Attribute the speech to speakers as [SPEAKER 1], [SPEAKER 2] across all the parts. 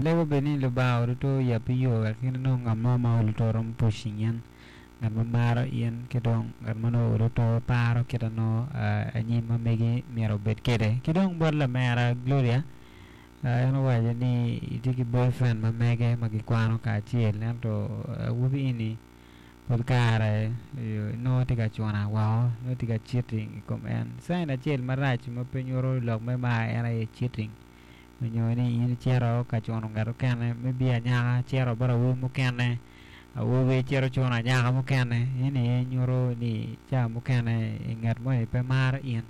[SPEAKER 1] Alego bene ni Lubanga oruto yabbi yo wek in inong ngat mo ma oluto romo pushing in, ngat ma maro in ki dong ngat ma nongo oluto paro kit ma nongo anyim ma megi myero obed kwede. Ki dong bot lamera Gloria, en owaco ni etye ki boyfriend ma mege ma gikwano kacel ento awobi eni pol kare nongo tye ka cuna woko nongo tye ka cheating i kom en. Cain acel marac ma pe nyuto lok me mar en aye cheating. Onyo ni in icito ka cuno ngat mukene me biyo anyaka cito bot awobi mukene, awobi cito cuno anyaka mukene eni aye nyuto ni ca mukene ngat moni pe maro in.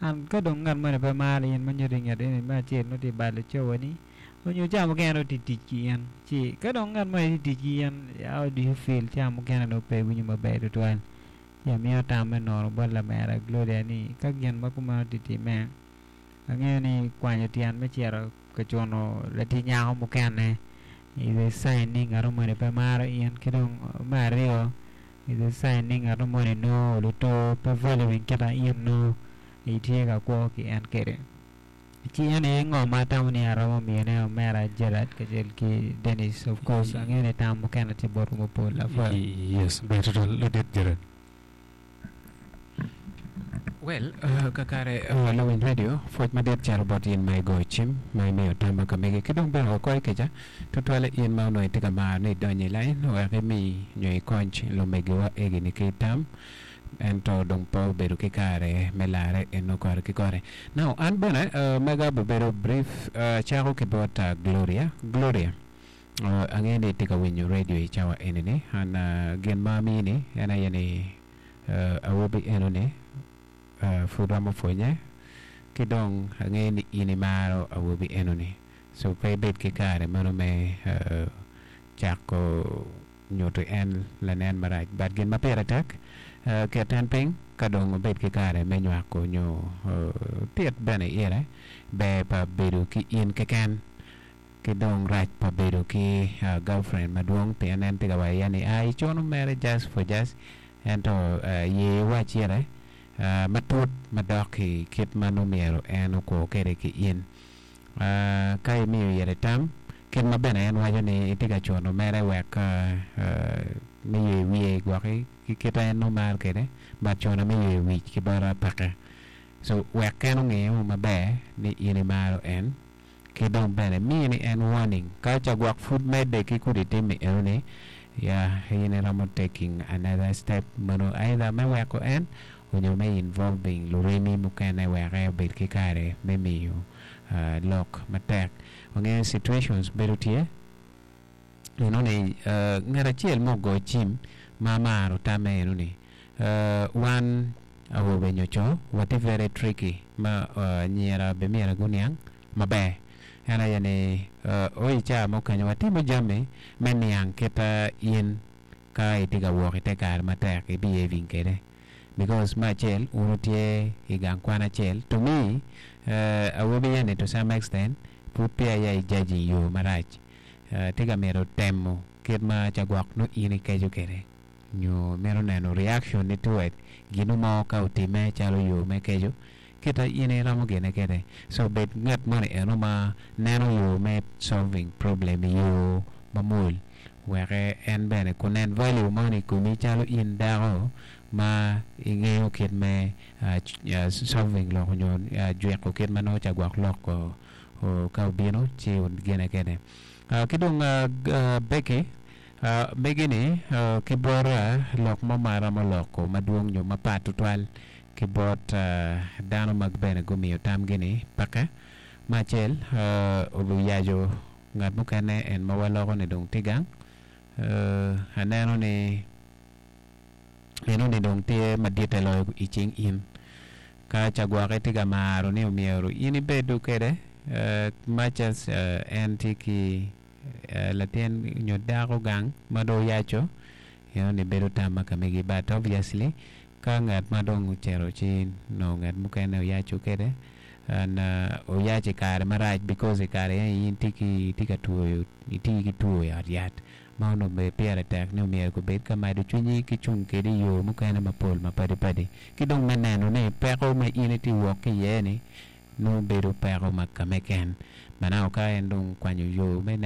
[SPEAKER 1] And ka dong ngat moni pe maro in ma nyuto ni ngat eni me acel nongo tye ka balo cawani onyo ca mukene nongo tye ka tic ki in ci ka dong ngat moni tye ka tic ki in how do you feel ca mukene nongo pe iwinyo maber tutwal. Ci amiyo tam me nono bot lamera Gloria ni ka gin ma kumeno tye timme Angeyo ni kwanyo tyen me cito ka cuno latic nyako mukene is a sign ni ngat moni pe maro in ki dong me aryo is a sign ni ngat moni nongo oluto pe valuing kit ma in nongo itye ka kwo ki en kwede. Ci en aye ngo ma atamo ni aromo miyone omera Gerard kacel ki Dennis of course angeyo ni tam mukene tye botwu mapol apwoyo.
[SPEAKER 2] Yes, ber tutwal ladit Gerard.
[SPEAKER 3] Well, kakare lawiny radio, pwoc madit cito bot in ma igoyo cim, ma imiyo tam ma ka megi, ki dong bene wakwayi kica, tutwalle in ma onongo itye ka maro ni idony i lain wek imi nyo ikony lumegiwa egi-ni ki tam, ento dong pe obedo ki kare me larre eno kore ki kore. Now, an bene mega obibedo brief, acako ki bot Gloria. Gloria. Angeyo ni itye ka winyo redio i cawa eni-ni. An gin ma amini en aye ni awobi eno-ni pud romo pwonye ki dong angeyo ni in imaro awobi eno-ni. So pe ibed ki kare meno me cako nyuto en lanen marac. But gin ma pire tek, ket en piny ka dong wubed ki kare me nywako nyo tit bene ire ber pa bedo ki in keken. Ki dong rac pa bedo ki girlfriend madwong pien en tye ka waco iye ni a icuno mere just for just ento ye iwac ire matut madok i kit ma nongo myero en okwo kwede ki in. Ka imiyo ire tam kit ma bene en waco ni itye ka cuno mere wek me ywe wiye gwoki ki kite en nongo maro kwede but cuna me yweyo wic ki bota peke so wek en onge maber ni in imaro en. Ki dong bene mini en warning ka ca gwok pud medde ki kudi timmi eno ni ya in iromo taking another step meno either me weko en onyo me involving luremi mukene wek en obed ki kare me miyo lok matek. Wangeyo situations bedo tye eno ni ngat acel ma ogo cim ma amaro tamme eno ni wan Awobe nyo co watye very tricky ma anyira be myero guniang maber. En aye ni o i caa mukene watimo jami me niang kit in ka itye ka wok ite kare matek i behaving kede because me acel wun wutye i gang kwan acel to me awobi eni to some extent pud peya ya i judging yo marac tye ka mito temo kit ma ca gwok nongo in ikeco kede. Nyo mito neno reaction ni toward ginu mo ka otime calo yo me keco kita in iromo gine kede. So bed ngat moni eno ma neno yo me solving problem i yo ma mwol wek en bene kunen value moni i komi calo in dako ma ingeyo kit me solving lok nyo jwiko kit ma nongo ca gwok lok ka obino ci gine kede. Ki dong Becky. Megi-ni ki bota lok mo ma aromo loko madwong nyo mapat tutwal ki bot dano ma bene gumiyo tamgi-ni peke. Me acel, oyaco ngat mukene en ma waloko-ni dong tye gang. Aneno ni enoni dong tye maditte loyo i cing in. Ka ca gwoki tye ka maro ni omyero in ibedo kwede much as en tye ki latin nyo dako gang ma dong oyaco eno ni bedo tam ma ka megi but obviously ka ngat ma dong ocito ci nongo ngat mukene oyaco kede and oyaco i kare marac because i kare eni in itye ki itye ka twoyo itye ki two i ot yat ma onongo bene pire tek ni myero gubed ka mado cwinyi ki cung kede i yo mukene mapol mapadi padi ki dong me neno ni peko ma in itye wok ki iye ni nongo bedo peko ma kame ken. Manako ka en dong okwanyo yo me neno.